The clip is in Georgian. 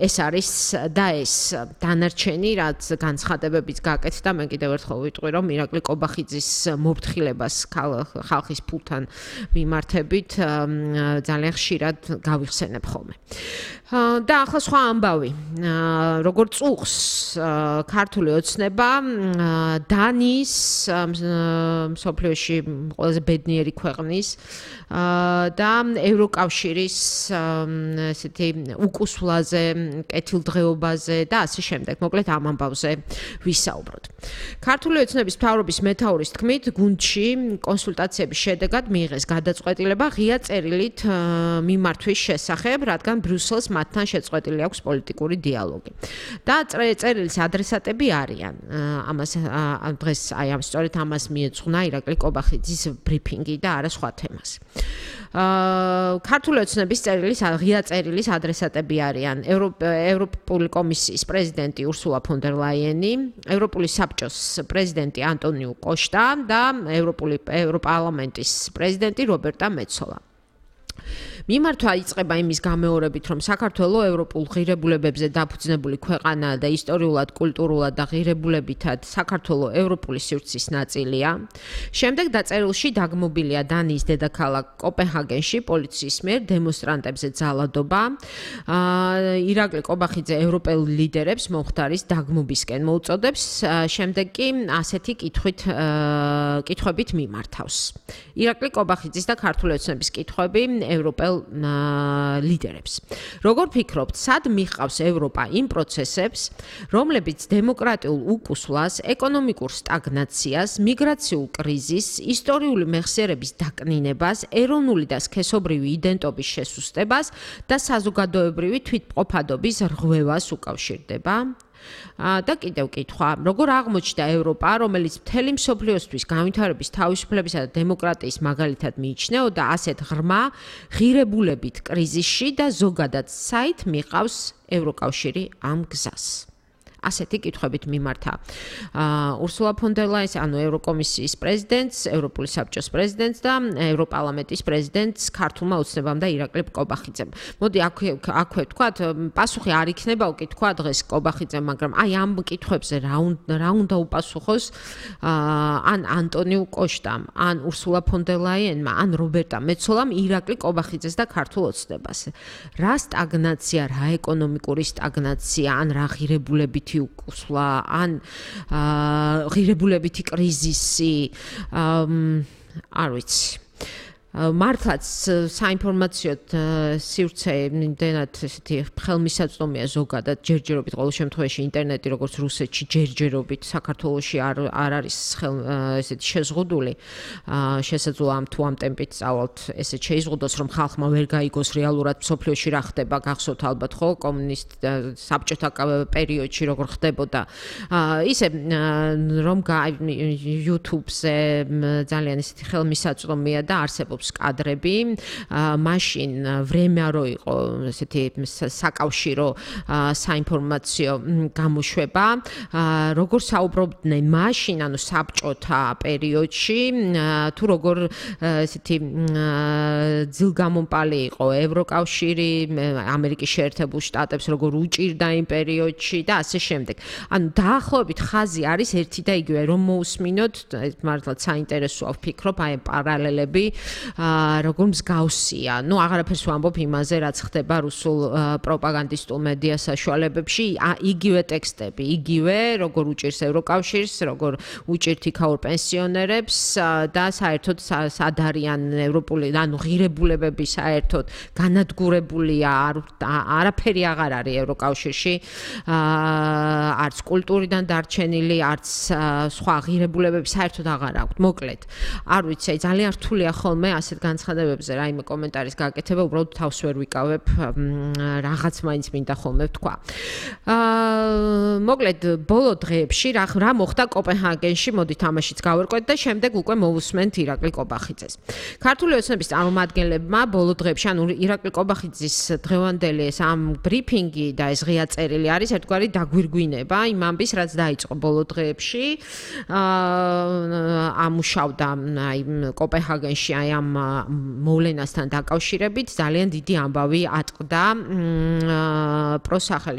ეს არის და ეს დანარჩენი, რაც განცხადებებიც გაკეთდა, მე კიდევ ერთხელ ვიტყვი, რომ ირაკლი კობახიძის მოფრთხილებას ხალხის ფულთან მიმართებით ძალიან ხშირად გავიხსენებ ხოლმე. და ახლა სხვა ამბავი. როგორ წუხს ქართული ოცნება დანიის მსოფლიოში ყველაზე ბედნიერი ქვეყნის და ევროკავშირის ესეთი უკუსვლაზე, კეთილდღეობაზე და ასე შემდეგ. მოკლედ ამ ამბავზე ვისაუბროთ. ქართული ოცნების მთავრობის მეთაურის თქმით, გუნდში კონსულტაციების შედეგად მიიღეს გადაწყვეტილება ღია წერილით მიმართვის შესახებ, რადგან ბრიუსელს მათთან შეწყვეტილი აქვს პოლიტიკური დიალოგი. და წერილის ადრესატები არიან. ამას დღეს სწორედ ამას მიეძღვნა ირაკლი კობახიძის ბრიფინგი და არა სხვა თემას. ქართული ოცნების ღია წერილის ადრესატები არიან ევროპული კომისიის პრეზიდენტი ურსულა ფონ დერ ლაიენი, ევროპული საბჭოს პრეზიდენტი ანტონიუ კოშტა და ევროპარლამენტის პრეზიდენტი რობერტა მეცოლა. მიმართვა იწყება იმის გამეორებით, რომ საქართველოს ევროპულ ღირებულებებზე დაფუძნებული ქვეყანაა და ისტორიულად, კულტურულად და ღირებულებითად საქართველოს ევროპული სივრცის ნაწილია. შემდეგ დაწერილში დაგმობილია დანიის დედაქალაქ კოპენჰაგენში პოლიციის მიერ დემონსტრანტებზე ძალადობა. ირაკლი კობახიძე ევროპელ ლიდერებს მომხდარის დაგმობისკენ მოუწოდებს, შემდეგ კი ასეთი კითხვებით მიმართავს. ირაკლი კობახიძის და ქართული ოცნების კითხვები ევროპელ ლიდერებს. როგორ ფიქრობთ, სად მიხავს ევროპა იმ პროცესებს, რომლებიც დემოკრატიულ უკუსვლას, ეკონომიკურ სტაგნაციას, მიგრაციულ კრიზისს, ისტორიული მეხსიერების დაკნინებას, ეროვნული და სქესობრივი იდენტობის შესუსტებას და საზოგადოებრივი თვითმყოფადობის რღვევას უკავშირდება? და კიდევ კითხვა, როგორ აღმოჩნდა ევროპა, რომელიც მთელი მსოფლიოსთვის განვითარების თავისუფლებისა და დემოკრატიის მაგალითად მიიჩნეოდა ასეთ ღრმა ღირებულებით კრიზისში და ზოგადად საით მიყავს ევროკავშირი ამ გზას? ასეთი კითხვებით მიმართა ურსულა ფონ დერ ლაიენს, ანუ ევროკომისიის პრეზიდენტს, ევროპული საბჭოს პრეზიდენტს და ევროპარლამენტის პრეზიდენტს ქართულმა ოცნებამ და ირაკლი კობახიძემ. მოდი აქვე ვთქვათ, პასუხი არ იქნება უკითხვა დღეს კობახიძემ, მაგრამ აი ამ კითხვებზე რა უნდა უპასუხოს ან ანტონიუ კოშტამ, ან ურსულა ფონ დერ ლაიენმა, ან რობერტა მეცოლამ ირაკლი კობახიძეს და ქართულ ოცნებას. რა სტაგნაცია, რა ეკონომიკური სტაგნაცია, ან რა ღირებულებით უკუსვლა, ან ღირებულებითი კრიზისი, არ ვიცი. მართლაც საინფორმაციო სივრცე იმდენად ესეთი ხელმისაწვდომია ზოგადად, ჯერჯერობით ყოველ შემთხვევაში ინტერნეტი როგორც რუსეთში ჯერჯერობით საქართველოში არ არის ესეთი შეზღუდული. შესაძლოა თუ ამ ტემპით სწავლოთ ესე შეიზღუდოს, რომ ხალხმა ვერ გაიგოს რეალურად მსოფლიოში რა ხდება, გახსოვთ ალბათ ხო საბჭოთა პერიოდში როგორ ხდებოდა. ისე რომ YouTube-ზე ძალიან ესეთი ხელმისაწვდომია და არსებობს კადრები, მაშინ ვრემიარო იყო ესეთი საკავშირო საინფორმაციო გამოშვება, როგორ საუბრობდნენ მაშინ, ანუ საბჭოთა პერიოდში, თუ როგორ ესეთი ძილგამომპალი იყო ევროკავშირი, ამერიკის შეერთებულ შტატებს როგორ უჭირდა იმ პერიოდში და ასე შემდეგ. ანუ დაახლოებით ხაზი არის ერთი და იგივე, რომ მოусმინოთ, მართლაც საინტერესოა ვფიქრობ, აი პარალელები როგორ მსგავსია. აღარაფერს ვამბობ იმაზე, რაც ხდება რუსულ პროპაგანდისტულ მედია საშუალებებში, იგივე ტექსტები, იგივე როგორ უჭირს ევროკავშირს, როგორ უჭირთ იქაურ პენსიონერებს და საერთოდ სად არიან ევროპული, ანუ ღირებულებები საერთოდ განადგურებულია, არაფერი აღარ არის ევროკავშირში, არც კულტურიდან დარჩენილი, არც სხვა ღირებულებები საერთოდ აღარ აქვთ. მოკლედ, არ ვიცი, ძალიან რთულია ხოლმე ასეთ განცხადებებზე რაიმე კომენტარის გაკეთება, უბრალოდ თავს ვერ ვიკავებ, რაღაც მაინც მინდა ხოლმე ვთქვა. მოკლედ, ბოლო დღეებში რა მოხდა კოპენჰაგენში, მოდით ამაშიც გავერკვეთ და შემდეგ უკვე მოვუსმენთ ირაკლი კობახიძეს. ქართული ოცნების წარმომადგენლებმა ბოლო დღეებში, ანუ ირაკლი კობახიძის დღევანდელი ეს ამ ბრიფინგი და ეს ღია წერილი არის ერთგვარი დაგვირგვინება იმ ამბის, რაც დაიწყო ბოლო დღეებში. ამუშავდა აი კოპენჰაგენში აი ამ მოვლენასთან დაკავშირებით ძალიან დიდი ამბავი ატყდა პროსახელის